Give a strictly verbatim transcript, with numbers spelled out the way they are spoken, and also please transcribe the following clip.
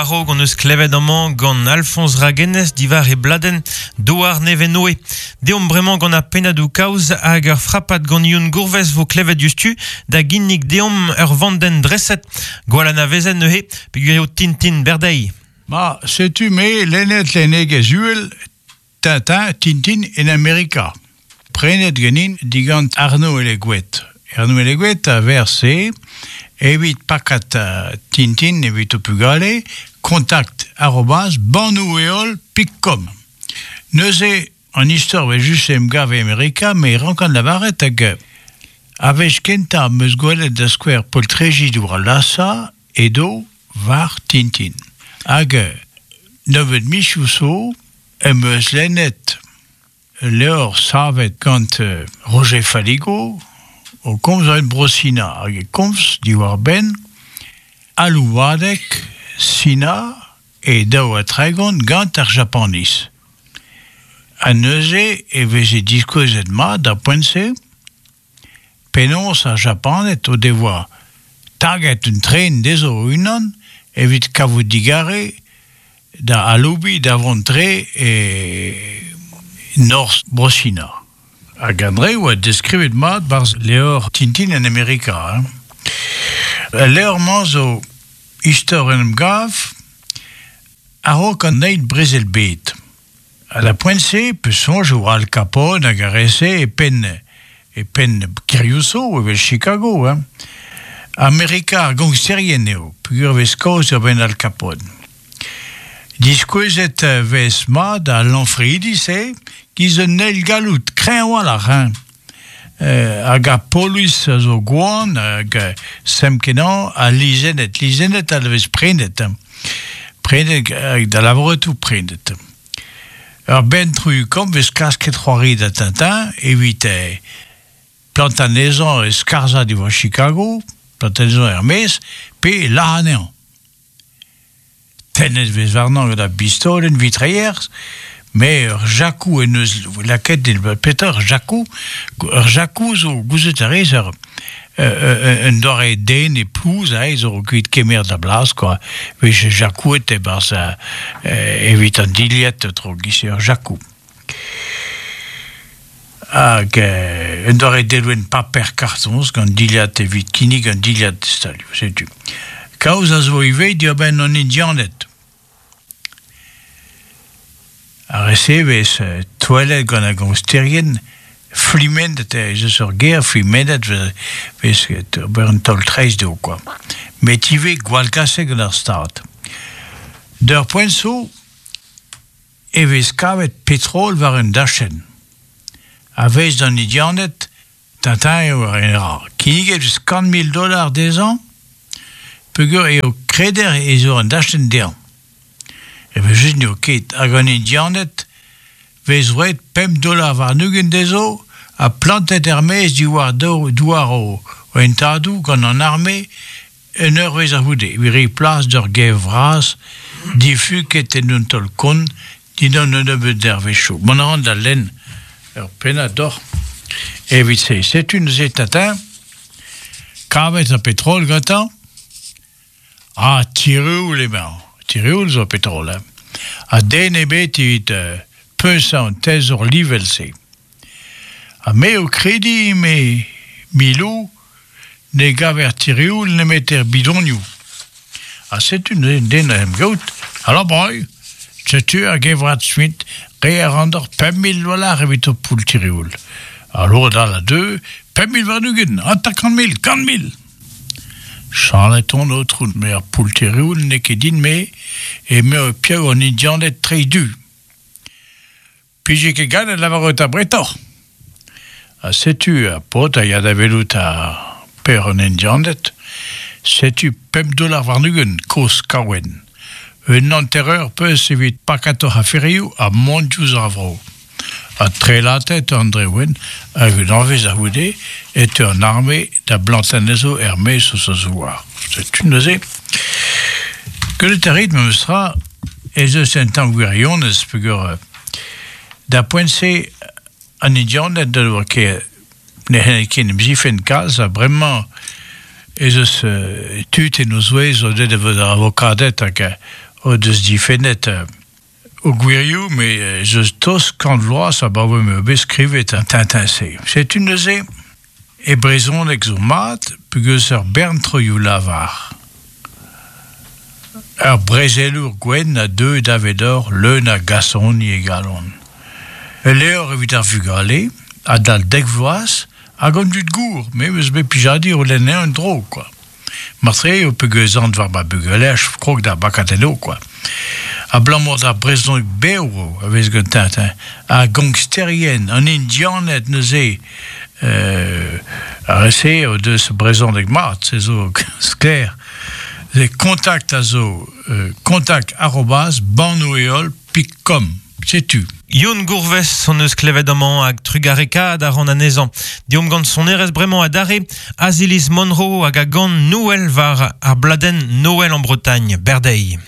War-raok hon eus klevet amañ gant Alphonse Raguenez diwar e bladenn Douar Nevenoe. Deomp bremañ gant ar pennadoù kaoz hag ur frapad gant Youn Gourvez vo klevet diouzhtu da ginnig deomp ur vandenn dreset gwall anavezet neuze peogwir eo Tintin Berdei. Ma, setu me lennet lennegezh uhel Tintin, Tintin en Amerika. Prenet ganin digant Arnaud Eleguet. Arnaud Eleguet a verse evit pakat Tintin evit o pugale contact arobase banoueol pik com. Neuze an istor ve just em gav e Amerika, me rankan lavaret hag a wech kentañ 'm eus gwelet da skouer poltreji diwar Lhasa edo war Tintin. Hag nebeut mizioù zo em eus lennet levr savet gant Roger Faligo o komz en Bro-Sina hag e komz diwar-benn aloubadeg Sina e daou ha tregont gant ar Japaniz. Ha neuze e veze diskouezet mat d'ar poent-se penaos ar Japaned o devoa taget un tren dezho o-unan evit kavout digarez da aloubiñ da vont tre e norzh Bro-Sina. Hag an dre oa deskrivet mat barzh levr Tintin en Amerika. Hein. Al levr-mañ zo istor en em gav a-raok an eil brezel bed. A la poent-se, peus soñj oa Al Capone hag ar re-se e penn e penn kêrioù zo evel Chicago. Hein. Amerika ar gangsterien eo, peogwir vez kaoz ur benn Al Capone. Diskouezet vez mat al lanfreidi-se giz un eil galloud kreñv a-walc'h. Hein. Euh, hag ar polis a zo gwan hag sem-kenañ ha lizennet. Lizennet a vez prenet. Hein. Prenet hag da lavaret prenet. Ur benn troioù-kamm vez klasket c'hoari da Tintin evit eh, plantañ anezhañ e skarzhañ diwar Chicago, plantañ anezhañ er-maez, pe lazhañ anezhañ. Tennet vez warnañ gant ar bistolenn vitrailler, mais ur jakou en eus lakaet petra ur jakou, ur jakou zo gouzout a rez ur un doare den e plouz aze zo kuit kemer da blas quoi. Vez jakouet e-barzh evit an dilhad tro giz ur jakou. Hag un doare delwenn paper kartoñs gant dilhad evit kinnig an dilhad stalioù, setu. Kaoz a zo ivez diwar-benn an Indianed. Ar re-se vez touellet gant ar gangsterien flimendet ez eus ur ger flimendet vez ober un taol treizh dezho quoi. Met ivez gwallgaset gant ar Stad. D'ur poent zo e vez kavet petrol war un dachenn. A vez d'an Indianed, Tintin eo ar en ra. Kinniget vez kant mil dollars dezhañ, peogwir eo kreder ez eo an dachenn dezhañ. Evel just n'eo ket hag an Indianed vez roet pemp dollar warn-ugent dezho ha plantet er-maez diwar douar o hentadoù gant an arme un eurvezh a-c'houde. Evit reiñ plas d'ur gev vras difuket en un taol-kont dindan un nebeud dervezhioù. Mont a ran da lenn ur pennad doc'h evit se. Setu neuze Tintin, kavet ar petrol gantañ, ha tireoul emañ. Tireoul zo petrol, hein. Ha den ebet evit euh, puñsañ an teñzor livel-se. Ha me o krediñ me Milou ne gaver tireoul nemet er bidonioù. Ha setu neuze den a em gaout. Alors breu, setu ar gevrat Smith re a ran d'ur pemp mil dollars evit ur poull tireoul. Alors dal a deux, pemp mil warn-ugent, hanter-kant mil, kant mil. Chalet on aotrou, me ar poull tireoul n'eo ket din-me e me o piv an Indianed treiñ du. Pije ket gallet lavaret abretoc'h. Ha setu ar paotr a ya da welout ar per an Indianed, setu pemp dollar warn-ugent, kozh kaouenn. Un hanter-eur peus evit pakatoc'h aferioù ha mont diouzh ar vro. Ha trelatet an drewenn hag un eurvezh a-c'houde e teu an arme da blantañ anezho er-maez eus a zouar. Setu neuze. Gwelet a rit memes tra ez eus un tamm gwirionez peogwir da poent-se an Indianed da oa ket ne c'hellent ket en em zifenn kalz ha bremañ ez eus tud en o zouez o deus da vont avokaded hag o deus difennet euh, o gwirioù, me eus tost kant vloaz abaoe m'eo bet skrivet an Tintin-se. Setu neuze, e brezhoneg zo mat, peogwir ur bern troioù lavar. Ur brezelour gwenn a deu davedoc'h leun a gasoni e galon. Ul levr evit ar vugale, adal dek vloaz, hag an dud gour, me eus bet plijadur o lenn un dro, quoi. Martre eo peogwir an war ma bugelech krog da bakatelo, quoi. Abalamour d'ar brezhoneg bev a vez gant Tintin, ar gangsterien, an indianed neuze, euh, ar re-se o deus brezhoneg mat, se zo sklaer. Se kontakt a zo euh, kontakt arobase bannoù-heol pik com. Setu. Youn Gourves hon eus klevet amañ hag trugarekaat a ran anezhañ. Deomp gant sonerezh bremañ adarre, Aziliz Monroe hag a gan Noël war ar bladenn Noël en Bretagne, Berdei.